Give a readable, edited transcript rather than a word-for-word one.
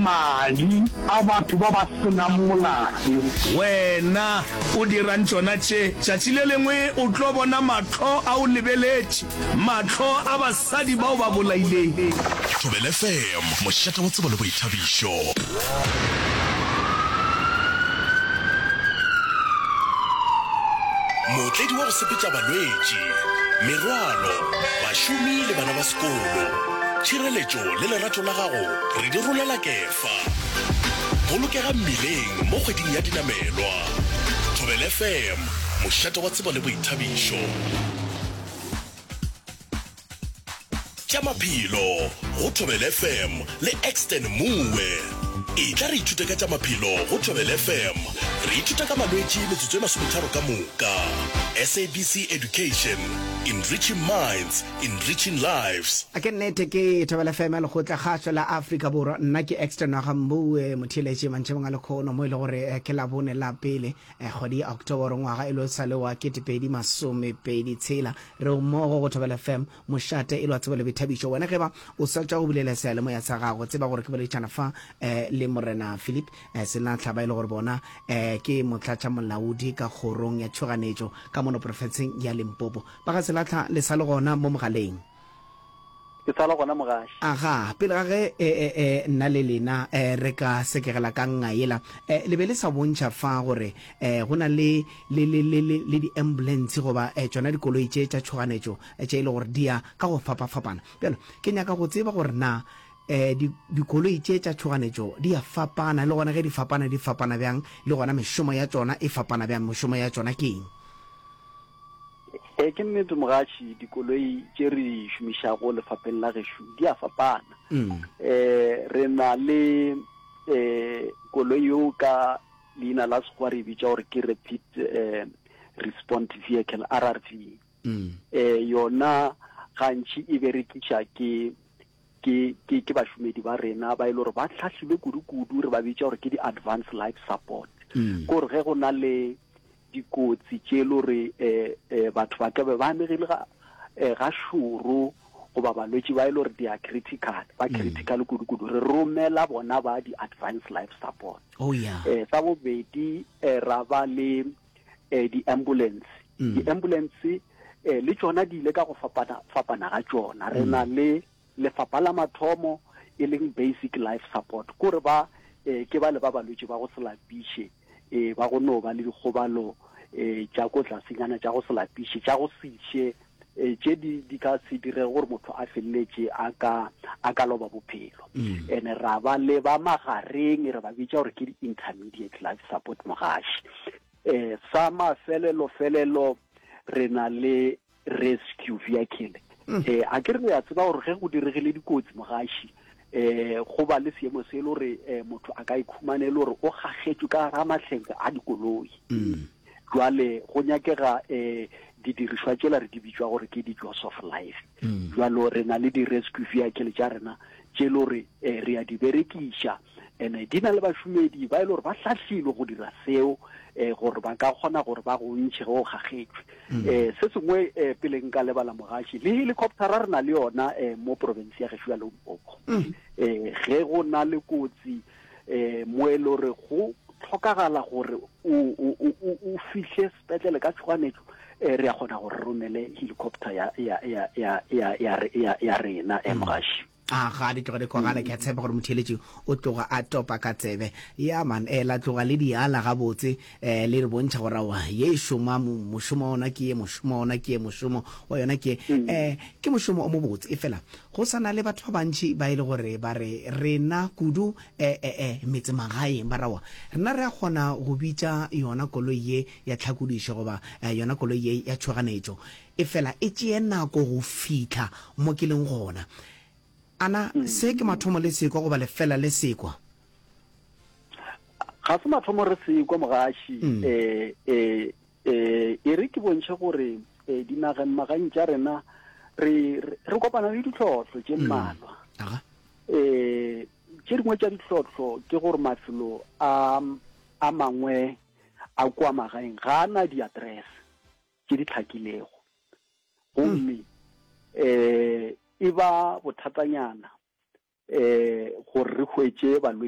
madi a batho ba ba se nang molato. Wena o dirang tšona tše? Tšatši le lengwe o tlo bona mahlo a o lebeletše, mahlo a basadi ba o ba bolaileng. Thobela FM, mošate wa tsebo le boithabišo. Mootledi wa go sepetša balwetši, merwalo, bašomi le bana ba sekolo. Tšhireletšo le lerato la gago re di rolela kefa. Bolokega mmileng mo kgweding ya dinamelwa. Thobela FM, mošate wa tsebo le boithabišo. Tša maphelo go Thobela FM le Exton Moe. Etla re ithute ka tša maphelo go Thobela FM. Re ithuta ka malwetši metsotso e masometharo ka moka. SABC Education, enriching minds, enriching lives. A ke nnete ke Thobela FM ya Lekgotla Kgašo la Afrika Borwa. Nna ke Exton wa ga Mboue motheeletši mantšhebong a lekhono mo e le gore eh, ke Labone la pele eh, kgwedi ya Oktoboro ngwaga e lo sa le wa 2026. Re mmogo go Thobela FM Mošate e le wa tsebo le boithabišo. Wena ge ba o sa tšwa go bulela seyalemoya sa gago, tseba gore ke boledišana fa eh, le Morena Philip eh, Senatla, ba e le gore bona eh, ke motlatšamolaodi ka kgorong ya tšhoganetšo ka mono profenseng ya Limpopo. Ba ga Selatlha le sa le gona mo mogaleng? Ke sa le gona mogaši. Aga, pele ga ge e, e, e, nna le lena e, re ka sekegela ka nnga yela, e, le be le sa bontšha fa gore e, go na le, le, le, le, le, le di-ambulance goba e, tšona dikoloi tše tša tšhoganetšo e, tše e le gore di ya ka go fapafapana. Bjalo, ke nyaka go tseba gore na e, di, dikoloi tše tša tšhoganetšo di a fapana, le gona ge di fapana, di fapana bjang, le gona mešomo ya tšona e fapana bjang, mešomo ya tšona ke eng? Ee, ke nnete mogatši, dikoloi tše re di šomišago lefapheng la gešo di a fapana. Um re na le um koloi yeo ka leina la Sekgowa re e bitša gore ke Rapid um Respond Vehicle, RRV. Um yona gantši e berekiša ke ke ke ke bašomedi ba rena ba e le gore ba hlahlilwe kudu-kudu, re ba bitša gore ke di-advanced life support. Ke gore ge go na le dikotsi tše e le gore um batho ba ka be ba amegile ga um ga šoro goba balwetši ba e le gore they are critical, ba mm. critical kudu-kudu, re romela bona ba di-advanced life support. Oh, yeah. Um sa bobedi um ra ba le um di-ambulance. Mm. Di-ambulance um le tšona di ile ka go fapana fapana ga tšona. Re na mm. le Lefapha la mathomo e leng Basic Life Support, ko re ba eh, ke bale ba balwetši ba go se lapiše, eh, ba go no ba le dikgobalo eh, tša ko tlasenyana tša go se lapiše, tša go se še, eh, tše di, di ka se direge gore motho a feleletše a ka, a ka loba bophelo. Mm. Ene ra ba le ba magareng, re ba bitša gore ke di-intermediate life support mogaši. Eh, sa mafelelo felelo re na le rescue vehicle mm. eh a ke re ya tseba gore ge go diregile dikotsi mogaši eh go ba le seemo se e le gore eh, motho a ka ikhumane e le gore o gagetšwe ka ga mahleng a dikoloi mm. jwale go nyakega eh didirišwa tšela re di bitšwa gore ke di-jaws of life mm. jwalo re na le di-rescue vehicle tša rena tše le gore eh, re a di berekiša ene di na le bašomedi ba e le gore ba hlahlilwe go dira seo um gore ba ka kgona gore ba go ntšhe ge o gagetšwe um se sengwe um pele nka lebala mogaši le helicoptera re na le yona um mo province ya gešo ya Limpopo um ge go na le kotsi um mo e le gore go tlhokagala gore o fihle sepetlele ka tšhoganetšo um re ya kgona gore re romele helicopter ya ya ya ya ya ya ya rena um mogaši A ga di tloga di kwagala, ke a tshepa gore motheeletši o tloga a topa ka tsebe. Ya man, eh, la tloga le di ala gabotse, eh, le re bontšha gore aowa, ye e šoma, mošomo wa yona ke ye, mošomo wa yona ke ye, mošomo wa yona ke ye. Eh, ke mošomo o mobotse, efela go sa na le batho ba bantši ba e le gore ba re rena kudu, eh, eh, eh, metsemagaeng, ba re aowa, rena re a kgona go bitša yona koloi ye ya tlhakodišo goba, eh, yona koloi ye ya tšhoganetšo. Efela e tšee nako go fihla mo ke leng gona. Ana se ke mathomo le sekwa goba lefela le sekwa? Ga se mathomo re sekwa, mogaši. Um e, e, e re ke bontšhe gore e, dinageng magaeng tša rena re, re kopana le ditlhohlo tše mmalwa. Um tše dingwe tša ditlhohlo ke gore mafelo a, a mangwe a kua magaeng ga a na diaterese. tše di hlakilego gomme um e ba bothatanyana um gore re hwetše balwetši.